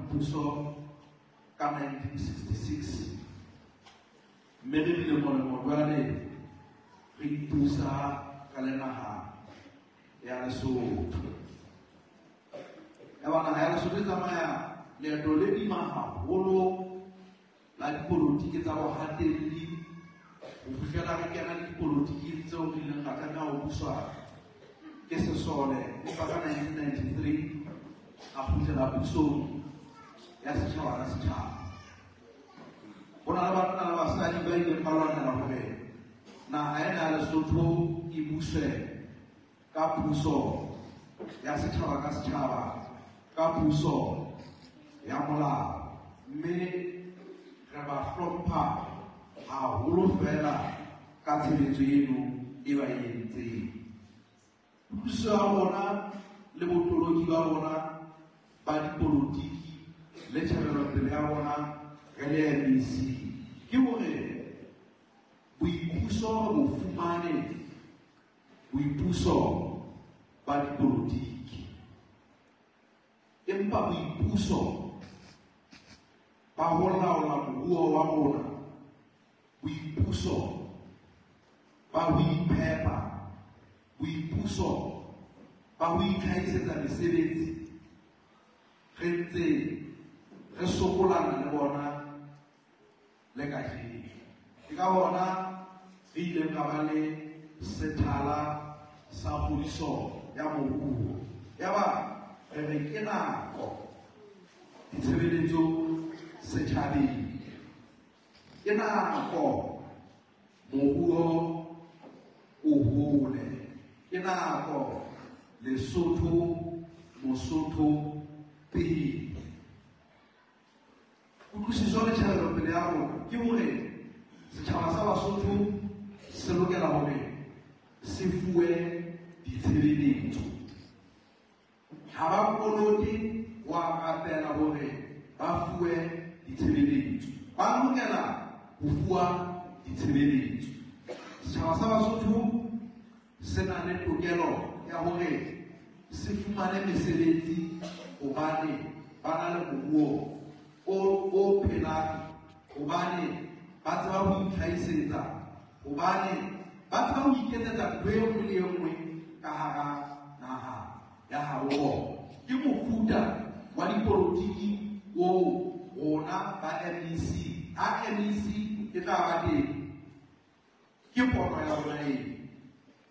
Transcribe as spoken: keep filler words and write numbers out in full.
boipuso ka nineteen sixty-six, mme re bile molemo jwale re ipusa ka le naha ya Lesotho. Ya ba naha ya Lesotho e tsamaya leeto le boima haholo la dipolotiki tsa bohatelli ho fihlela re kena le dipolotiking tseo re ileng ra tlameha ho buswa ke sesole, empa ka nineteen ninety-three a kgutlela pusong ya setjhaba ka setjhaba. Ho na le banna le basadi ba ileng ba lwanela hore naha ena ya Lesotho e buswe ka puso ya setjhaba ka setjhaba, ka puso ya molao, mme re ba hlompha haholo fela ka tshebetso eno e ba e entseng. Puso ya rona le botoloki ba rona ba dipolotiki le tjhebelopele ya rona re le M E C ke hore boipuso re bo fumane, boipuso ba dipolotiki, empa boipuso ba ho laola moruo wa rona, boipuso ba ho iphepa, boipuso ba ho itlhahisetsa mesebetsi, re ntse re sokolana le bona le kajeno. Ke ka hona re ileng ra ba le sethala sa kgodiso ya moruo. Yaba re re ke nako ditshebeletso setjhabeng, ke nako moruo o hole, ke nako Lesotho Mosotho pele. Kutlwisiso le tjhebelopele ya rona ke hore setjhaba sa Basotho se lokela hore se fuwe ditshebeletso. Ha ba kolote wa rapela hore ba fuwe ditshebeletso, ba lokela ho fuwa ditshebeletso. Setjhaba sa Basotho se na le tokelo ya hore se fumane mesebetsi hobane ba na le moruo o, o phelang, hobane ba tseba ho itlhahisetsa, hobane ba tseba ho iketsetsa ntho e nngwe le e nngwe ka hara naha ya habo bona. Ke mofuta wa dipolotiki oo rona ba M E C, ha M E C e tla ba teng, ke pono ya rona eo.